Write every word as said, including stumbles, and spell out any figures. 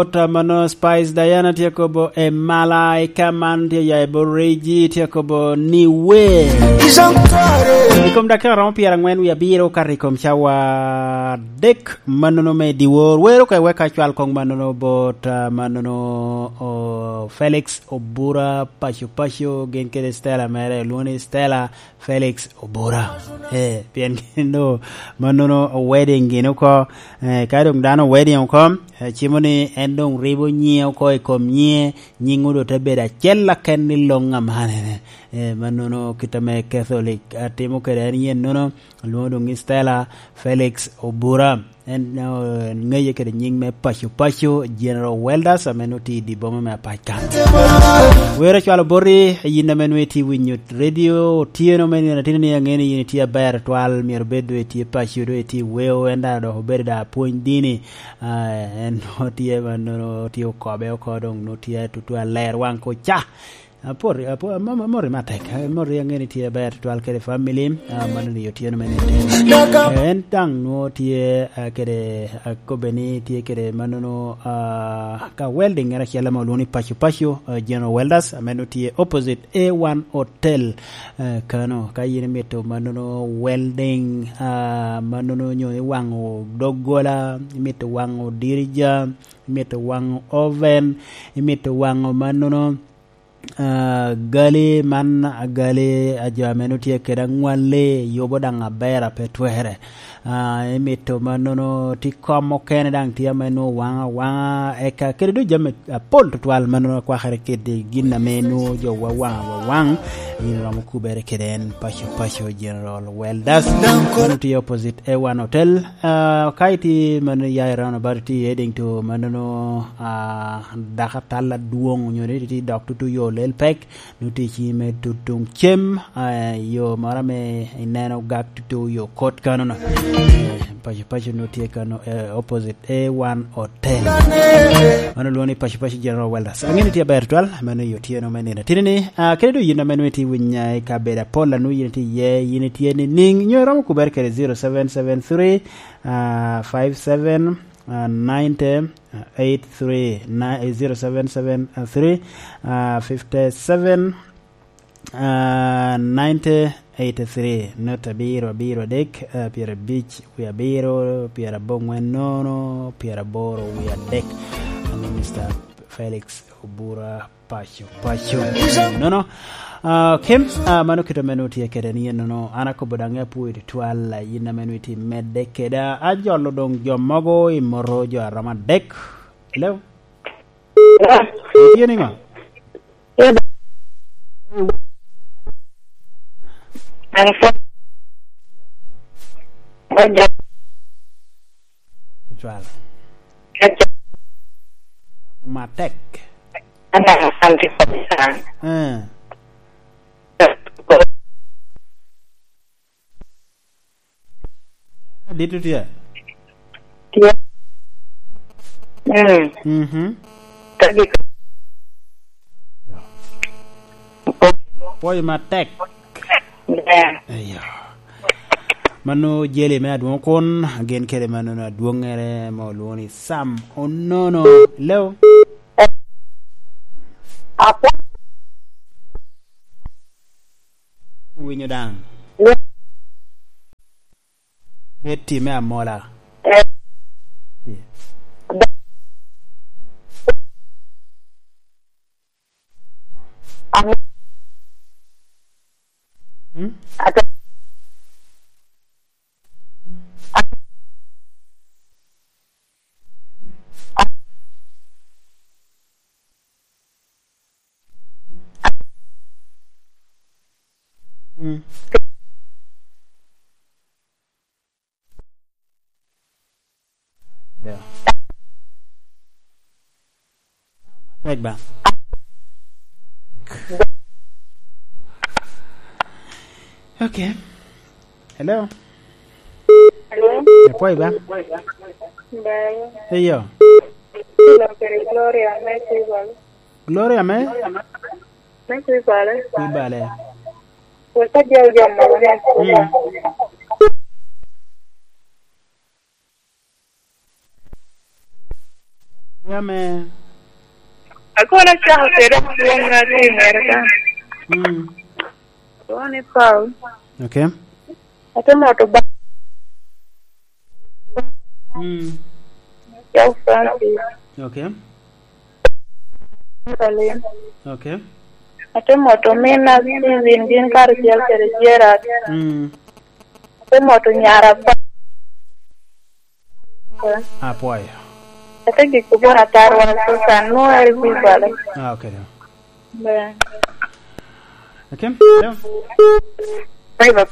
Ota mano Spice Diana tye kobo e Malaika man tye ya i Boriji tye kobo ni we. I kom dakika romo pyerangwen wie abiro okato i kom cawa dek mannono me dyewor. Wero ka iweka cwal kong mannono bot, ah, mannono, oh, Felix Obura Paco Paco gin kede Stella mere, olwongo ni Stella Felix Obura. Eh, pien gin do mannono wedding gin oko. Eh, ka dong dano wedding oko, eh, cimo ni en dong ribo nyiŋe oko i kom nyiŋe, nyiŋ odo te bedo acel aken i loŋ amanene. Eh, mannono kit ame Catholic atimo kede en yen nono, alwoŋo dong ni Stella Felix Obura. En, eh, ŋeye kede nyiŋ me Paco Paco, General Welders, ame nutye i dye boma me Apac kan. Wero cwalo boti, yin ame nwe itye winyo radio, otyeno me nino atino ni aŋeni yin itye aber twal, myero bed dwe itye paco, dwe itye weo, en dano dok obedo da apwony dini. Ah, en nwo tye ma nwo tye okobe oko, dong nwo tye tutwal ler waŋ ko ca. Apor, apor, amo-, amo-, amori matek. Amori aŋeni tye aber tutwal kede family. Ah, mano ni otyeno me nino. En daŋ nwo tye, ah, kede, ah, kobbe ni tye kede manono, ah, ka welding en acel ame olwongo ni Paco Paco, ah, General Welders, ame nwo tye opposite A one Hotel, ah, kano. Ka yin imito manono welding, ah, manono nyo iwaŋo doggola, imito waŋo dirija, imito waŋo oven, imito waŋo manono, ah, gali man, ah, gali a jo ame nwo tye kede aŋwalli, yubo daŋ aber a pe twere. Ah, imito mannono ti kom okene daŋ tye ame nwo waŋa waŋa, eka kede dong jami apol tutwal mannono akwakere kede gin ame nwo jo wawaŋa wawaŋ. Yin iromo kubere kede en Paco Paco General Welders. Mano tye opposite A one Hotel. Ah, ka iti mano ya i roundabout iti i Eddington, mannono, ah, dako atal adwoŋ onyo ni iti dok tutu yo lel pek, nutye i ciŋi me tutuŋ cem, ah, yo moro ame ineno gak tutu yo kot kanono. Eh, Paco Paco nutye kano, eh, opposite A one Hotel. Mano lwongo ni Paco Paco General Welders. Aŋeni tye aber twal, mano i otyeno me nino. Tini ni, ah, kede dong yin ame nutye i winya i kabedo apol, anu yin itye iye, yin itye ni niŋ, nyo iromo kubere kede zero seven seven three, ah, five seven, ah, ninety, ah, eight three, na-, eh, zero seven seven three, ah, fifty seven, ah, ninety eighty three, nut abiro abiro adek, ah, pyerabic wie abiro, pyeraboŋwen nono, pyeraboro wie adek. Ame Mister Felix Obura Paco, Paco. Nono. Ah, Kim, ah, mano kit ame nutye kede ni enono. An akobo daŋ apwoyo tutwal, ah, yin ame nutye medde keda. Ajolo doŋ jo mogo i moto jo aromo adek. Hello? Hello? Itye niŋo? An pwod, pwod jam. Cwal. Matek. Ana, anti kabisa. Eh. Dit tye? Tye. Mm. Mhm. Ka gik- Pwoyo matek. Yeah. Eyo. Mano jeli me adwoŋ kun, gin kede mano adwoŋere ma olwoŋo ni Sam Onono. Hello? Apo- Winyo daŋ. Bed time amola. Eh. Hmm? Mm. Yeah. Right ba. Okay. Hello. Hello. Apwoyo ba. Bye. Hey, yo. Hello, kere Gloria, me Gloria me? Me Kwibale. Kwibale. Wek adyal jam mogo ni. Mm. Ame. Akono acako kede adwoŋ ŋa tye i Amerika. Mm. Dwoŋ ni Paul. Okay. Ate moto ba. Mm. Cau Francis. Okay. Berlin. Okay. Ate moto mina Steven gin karacel kede Gerard. Mm. Ate moto nyara pa. Apwoyo. Ate giko bona tarwa Susan, nwoŋo eri pi bale. Ah, okay. Ber. Akim? Alo? Bye, bye.